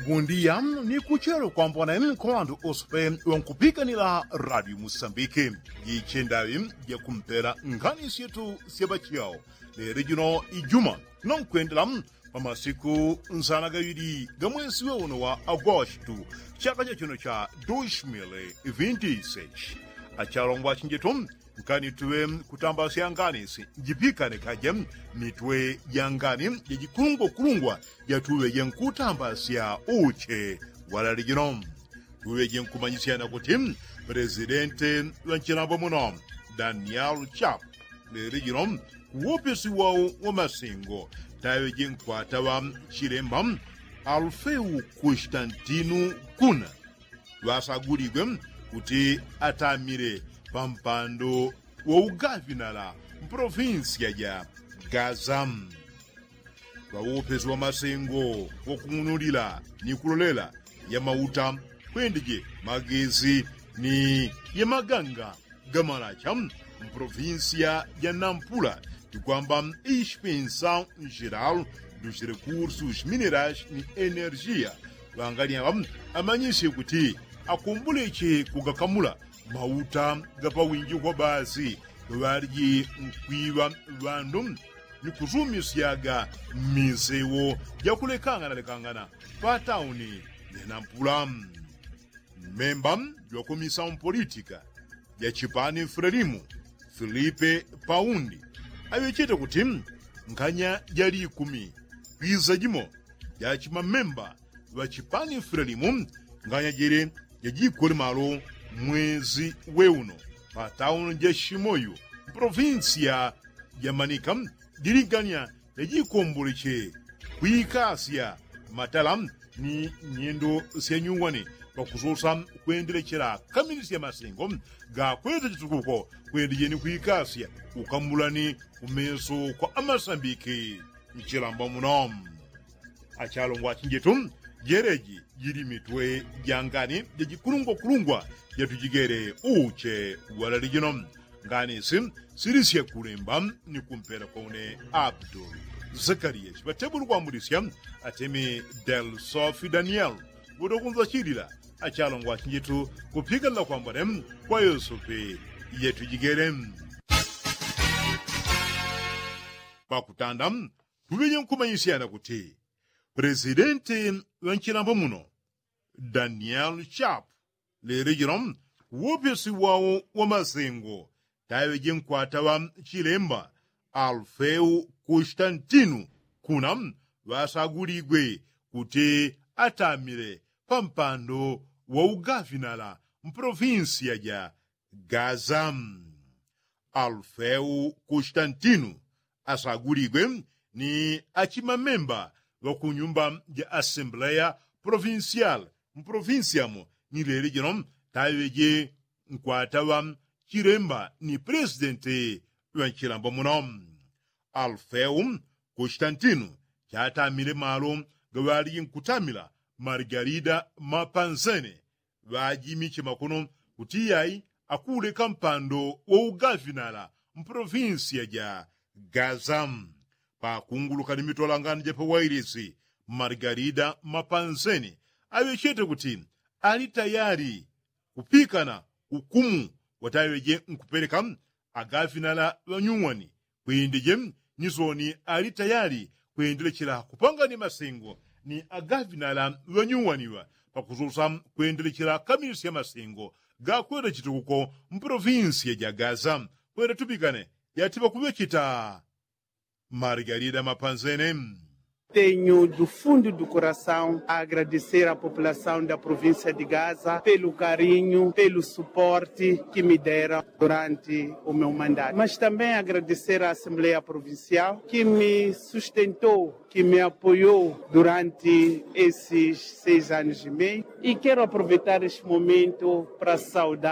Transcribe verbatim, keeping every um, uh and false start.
Mundiya ni kuchelo kwambona kwa ŵandu ose pe ŵankupikanila radio musambiki. Jichendaŵi jakumpela nkhani syetu sya ŵachiyao lelo jino ijuma, nonkwendela pa masiku nsana gaŵili ga mwesi we uno wa agosto, chaka cha chino cha dos mil vinti seis. Achalongwa chinjetu, nkani tuŵe kutambasya ngani si njipikane kaje mitwe ja ngani ja jikulungwakulungwa jatuŵe jenkutambasya uche walali jino. Tuŵe jenkumanyisyana kuti presidente ŵa nchilambo muno, daniel chap, leli jino kuwopesi wao wa masengo taŵe jenkwata ŵa chilemba alfeu konstantinu kuna ŵasaguligwe kuti atamile pa mpando wa ugavinala mpolofinsiya ja gaza. Ŵawopesi wa masengo wakung'unulila ni kulolela ya mauta kwendeje magezi ni ya maganga gamalacha mpolofinsiya ja nampula tikwamba ispensa njeral dus rekursus minerais ni energia ŵangali aŵa amanyisye kuti akumbuleche kugakamula mauta gapawinji kwa basi ŵaliji nkwiŵa ŵandu ni kusumisyaga mmisewo jakulekanganalekangana pa tauni ya nampula. Mmemba jwakomisa mpolitika ja chipani frelimu filipe paundi aŵechete kuti nkhanya jali ikumi kwiza jimo ja chimamemba ŵa chipani frelimu nkhanya jele jajikole malo mwezi we uno pa tauni ja shimoyu mpolofinsiya ja manika jilinganya jajikomboleche kwikasya matala ni nyendo syanyuwani pakusosa kwendelechela kamilisya masengo gakweza chitukuko kwendejeni kwikasya ukambulani kumeso kwa amasambiki nchilamba muno. Achalongwa achinjetu, jeleji jili mitwe ja ngani jajikulungwakulungwa jatujigele uche walali jino. Ngani si silisye kulemba ni kumpela kwa une abdul zakariya chiŵatebuli kwambulisya atemi del sofi daniel ŵotokunzachilila achalongwa achinjetu kupikanila kwambone kwa yosope yatujigele. Pakutanda tuŵeje nkumanyisyana kuti presidenti ŵa nchilambo muno daniel chap lelo jino kuwopesi wao wa masengo taŵeje nkwata ŵa chilemba alfeu konstantinu kuna ŵasaguligwe kuti atamile pa mpando wa ugafinala mpolofinsiya ja gaza. Alfeu konstantinu asaguligwe ni achimamemba ŵa ku nyumba ja asembleya polofinsial mpolofinsiamo ni leli jino taŵeje nkwata ŵa chilemba ni pelesidenti ŵa nchilambo muno. Alfeu konstantinu chatamile malo gaŵaliji nkutamila margarida mapanzene ŵajimiche makono kuti iyai akuuleka mpando wa ugafinala mpolofinsiya ja gaza. Pakunguluka ni mitolangano ja pawailisi margarida mapanzene aŵechete kuti ali tayali kupikana ukumu wataŵeje nkupeleka agafinala ŵanyuwani kwendeje ni soni ali tayali kwendelechela kupangani masengo ni agafinala ŵanyuwaniŵa pakususa kwendelechela kamilisya masengo gakwenda chitukuko mpolofinsiya ja gaza. Kwenda tupikane yatiŵa kuŵecheta margarida mapanzene. Tenho do fundo do coração a agradecer a população da província de gaza pelo carinho pelo suporte que me deram durante o meu mandato mas também agradecer a assembleia provincial que me sustentou que me apoiou durante esses seis anos e meio e quero aproveitar este momento para saudar